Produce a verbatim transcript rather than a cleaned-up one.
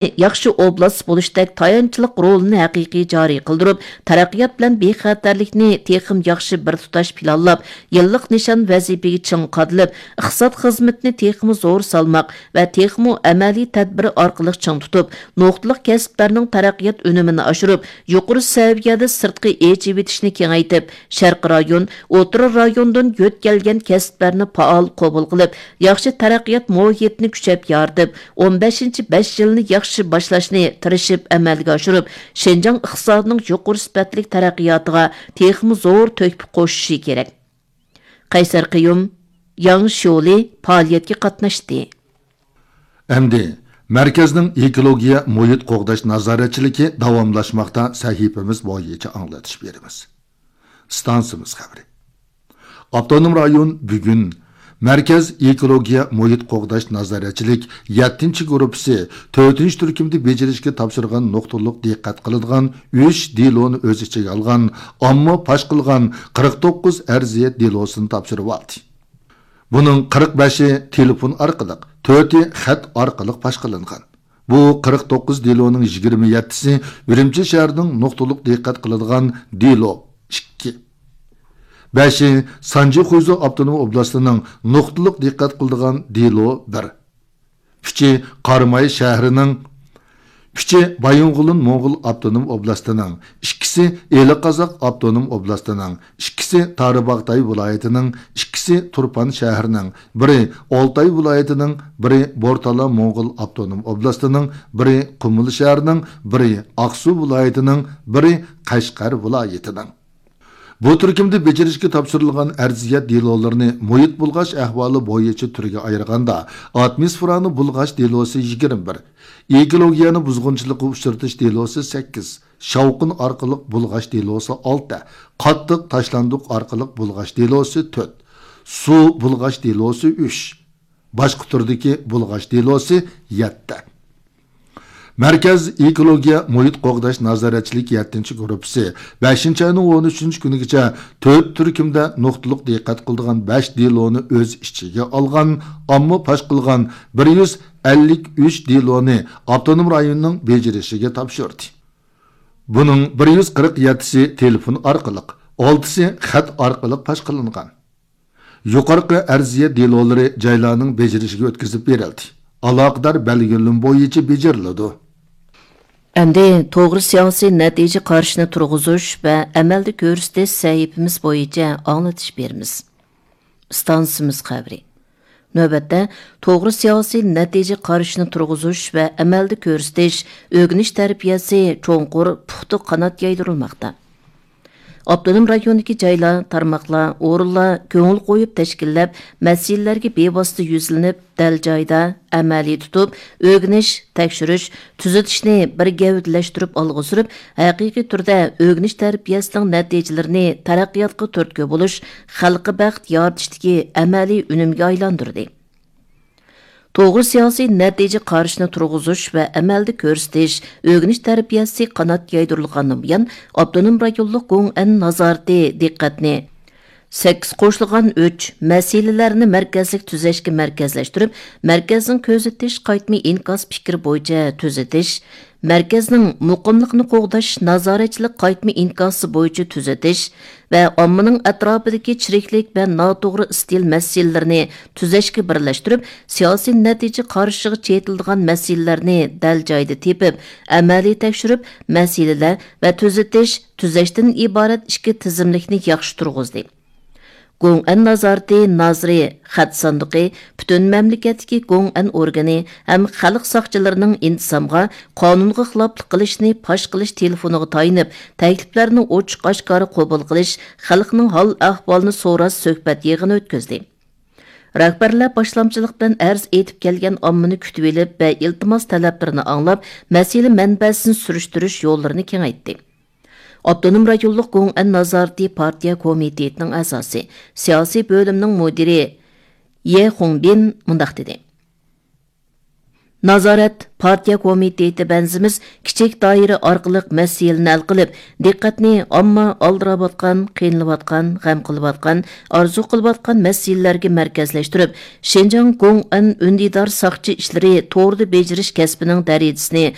ياخشى ئوبلاست بولۇشتەك تايانچلىق رولىنى ھەقىقىي جارى قىلدۇرۇپ، تەرەققىيات بىلەن بىخەتەرلىكنى تېخىمۇ ياخشى بىر تۇتاش پىلانلاپ، يىللىق نىشان ۋەزىپىگە چىڭ قادىلىپ، ئىقتىساد خىزمىتىنى تېخىمۇ زور سالماق ۋە تېخىمۇ ئەمەلىي تەدبىر ئارقىلىق چىڭ تۇتۇپ، نۇقتىلىق كەسىپلەرنىڭ تەرەققىيات ئۈنۈمىنى ئاشۇرۇپ، يۇقىرى سەۋىيەدە سىرتقى ئېچىۋېتىشنى كېڭەيتىپ، شەرقىي رايون، ئوتتۇرا رايوندىن يۆتكەلگەن كەسىپلەرنى پائال قوبۇل قىلىپ، ياخشى تەرەققىيات مۇھىتىنى كۈچەپ يارىتىپ، ئون بەشىنچى بەش يىلنى ياخشى باشلاشنى تىرىشىپ ئەمەلگە ئاشۇرۇپ، شىنجاڭ ئىقتىسادىنىڭ يۇقىرى سۈپەتلىك تەرەققىياتىغا تېخىمۇ زور تۆھپە قوشۇشى كېرەك. قەيسەر قىيۇم، ياڭ شيولى پائالىيەتكە قاتناشتى. ئەمدى مەركەزنىڭ ئېكولوگىيە مۇھىت قوغداش نازارەتچىلىكى داۋاملاشماقتا سەھىپىمىز بويىچە ئاڭلىتىش بېرىمىز. ئىستانسىمىز خەۋىرى. ئاپتونوم رايون بۈگۈن مەركەز ئېكولوگىيە مۇھىت قوغداش نازارەتچىلىك يەتتىنچى گۇرۇپپىسى تۆتىنچى تۈركۈمدە بېجىرىشكە تاپشۇرغان نۇقتىلىق دىققەت قىلىدىغان ئۈچ دېلونى ئۆز ئىچىگە ئالغان ئامما پاش قىلغان قىرىق توققۇز ئەرزىيەت دېلوسىنى تاپشۇرۇۋالدى. بۇنىڭ قىرىق بەشى تېلېفون ئارقىلىق، تۆتى خەت ئارقىلىق پاش قىلىنغان. بۇ قىرىق توققۇز دېلونىڭ يىگىرمە يەتتىسى ئۈرۈمچى شەھىرىنىڭ نۇقتىلىق دىققەت قىلىدىغان دېلو ئىككى. بەشى سانجى خۇيزۇ ئاپتونوم ئوبلاستىنىڭ نۇقتىلىق دىققەت قىلىدىغان دېلو بىر. ئۈچى قاراماي شەھىرىنىڭ، ئۈچى بايىنغولىن موڭغۇل ئاپتونوم ئوبلاستىنىڭ، ئىككىسى ئىلى قازاق ئاپتونوم ئوبلاستىنىڭ، ئىككىسى تارىباغاتاي ۋىلايىتىنىڭ، ئىككىسى تۇرپان شەھىرىنىڭ، بىرى ئالتاي ۋىلايىتىنىڭ، بىرى بورتالا موڭغۇل ئاپتونوم ئوبلاستىنىڭ، بىرى قۇمۇل شەھىرىنىڭ، بىرى ئاقسۇ ۋىلايىتىنىڭ، بىرى قەشقەر ۋىلايىتىنىڭ. بۇ تۈركۈمدە بېجىرىشكە تاپشۇرۇلغان ئەرزىيەت دېلولىرىنى مۇھىت بۇلغاش ئەھۋالى بويىچە تۈرگە ئايرىغاندا، ئاتموسفېرانى بۇلغاش دېلوسى يىگىرمە بىر، ئېكولوگىيەنى بۇزغۇنچىلىققا ئۇچرىتىش دېلوسى سەككىز، شاۋقۇن ئارقىلىق بۇلغاش دېلوسى ئالتە، قاتتىق تاشلاندۇق ئارقىلىق بۇلغاش دېلوسى تۆت، سۇ بۇلغاش دېلوسى ئۈچ، باشقا تۈردىكى بۇلغاش دېلوسى يەتتە. مەركەز ئېكولوگىيە مۇھىت قوغداش نازارەتچىلىك يەتتىنچى گۇرۇپپىسى بەشىنچى ئاينىڭ ئون ئۈچىنچى كۈنىگىچە تۆت تۈركۈمدە نۇقتىلىق دىققەت قىلىدىغان بەش دېلونى ئۆز ئىچىگە ئالغان، ئامما پاش قىلغان بىر يۈز ئەللىك ئۈچ دېلونى ئاپتونوم رايوننىڭ بېجىرىشىگە تاپشۇردى. بۇنىڭ بىر يۈز قىرىق يەتتىسى تېلېفون ئارقىلىق، ئالتىسى خەت ئارقىلىق پاش قىلىنغان. يۇقىرىقى ئەرزىيەت دېلولىرى جايلارنىڭ بېجىرىشىگە ئۆتكۈزۈپ بېرىلدى. ئالاقىدار بەلگىلىمە بويىچە بېجىرىلىدۇ. ئەمدى توغرا سىياسىي نەتىجە قارىشىنى تۇرغۇزۇش ۋە ئەمەلدە كۆرسىتىش سەھىپىمىز بويىچە ئاڭلىتىش بېرىمىز. ئىستانسىمىز خەۋىرى. نۆۋەتتە، توغرا سىياسىي نەتىجە قارىشىنى تۇرغۇزۇش ۋە ئەمەلدە كۆرسىتىش، ئۆگىنىش تەربىيەسى چوڭقۇر، پۇختا قانات يايدۇرۇلماقتا. ئاپتونوم رايوندىكى جايلار، تارماقلار، ئورۇنلار كۆڭۈل قويۇپ تەشكىللەپ، مەسىلىلەرگە بىۋاسىتە يۈزلىنىپ، دەل جايىدا ئەمەلىي تۇتۇپ، ئۆگىنىش، تەكشۈرۈش، تۈزىتىشنى بىر گەۋدىلەشتۈرۈپ ئالغا سۈرۈپ، ھەقىقىي تۈردە ئۆگىنىش تەربىيەسىنىڭ نەتىجىلىرىنى تەرەققىياتقا تۈرتكە بولۇش، خەلققە بەخت يارىتىشتىكى ئەمەلىي ئۈنۈمگە ئايلاندۇردى. توغرا سىياسىي نەتىجە قارىشىنى تۇرغۇزۇش ۋە ئەمەلدە كۆرسىتىش، ئۆگىنىش تەربىيەسى قانات يايدۇرۇلغاندىن بۇيان، ئاپتونوم رايونلۇق گوڭئەن نازارىتى دىققەتنى سەككىز قوشۇلغان ئۈچ مەسىلىلەرنى مەركەزلىك تۈزەشكە مەركەزلەشتۈرۈپ، مەركەزنىڭ كۆزىتىش قايتما ئىنكاس پىكرى بويىچە تۈزىتىش، مەركەزنىڭ مۇقىملىقنى قوغداش نازارەتچىلىك قايتما ئىنكاسى بويىچە تۈزىتىش ۋە ئاممىنىڭ ئەتراپىدىكى چىرىكلىك ۋە ناتوغرا ئىستىل مەسىلىلىرىنى تۈزەشكە بىرلەشتۈرۈپ، سىياسىي نەتىجە قارىشىغا چېتىلىدىغان مەسىلىلەرنى دەل جايىدا تېپىپ، ئەمەلىي تەكشۈرۈپ، مەسىلىلەر ۋە تۈزىتىش، تۈزەشتىن ئىبارەت ئىككى تىزىملىكنى ياخشى تۇرغۇزدى. گوڭئەن نازارىتى نازىرى خەت ساندۇقى، پۈتۈن مەملىكەتتىكى گوڭئەن ئورگىنى ھەم خەلق ساقچىلىرىنىڭ ئىنتىزامغا قانۇنغا خىلاپلىق قىلىشنى پاش قىلىش تېلېفونىغا تايىنىپ، تەكلىپلەرنى ئوچۇق-ئاشكارا قوبۇل قىلىش، خەلقنىڭ ھال-ئەھۋالىنى سوراش سۆھبەت يىغىنى ئۆتكۈزدى. رەھبەرلەر باشلامچىلىق بىلەن ئەرز ئېيتىپ كەلگەن ئاممىنى كۈتۈۋېلىپ ۋە ئىلتىماس تەلەپلىرىنى ئاڭلاپ، مەسىلە مەنبەسىنى سۈرۈشتۈرۈش يوللىرىنى كېڭەيتتى. ئاپتونوم رايونلۇق گوڭئەن نازارىتى پارتىيە كومىتېتىنىڭ ئەزاسى، سىياسىي بۆلۈمنىڭ مۇدىرى يې خۇڭبىن مۇنداق دېدى: نازارەت پارتىيە كومىتېتى بەنزىمىز كىچىك دائىرە ئارقىلىق مەسىلىنى ھەل قىلىپ، دىققەتنى ئامما ئالدىراۋاتقان، قىينىلىۋاتقان، غەم قىلىۋاتقان، ئارزۇ قىلىۋاتقان مەسىلىلەرگە مەركەزلەشتۈرۈپ، شىنجاڭ گوڭئەن ئۈندىدار ساقچى ئىشلىرى توردا بېجىرىش كەسپىنىڭ دەرىجىسىنى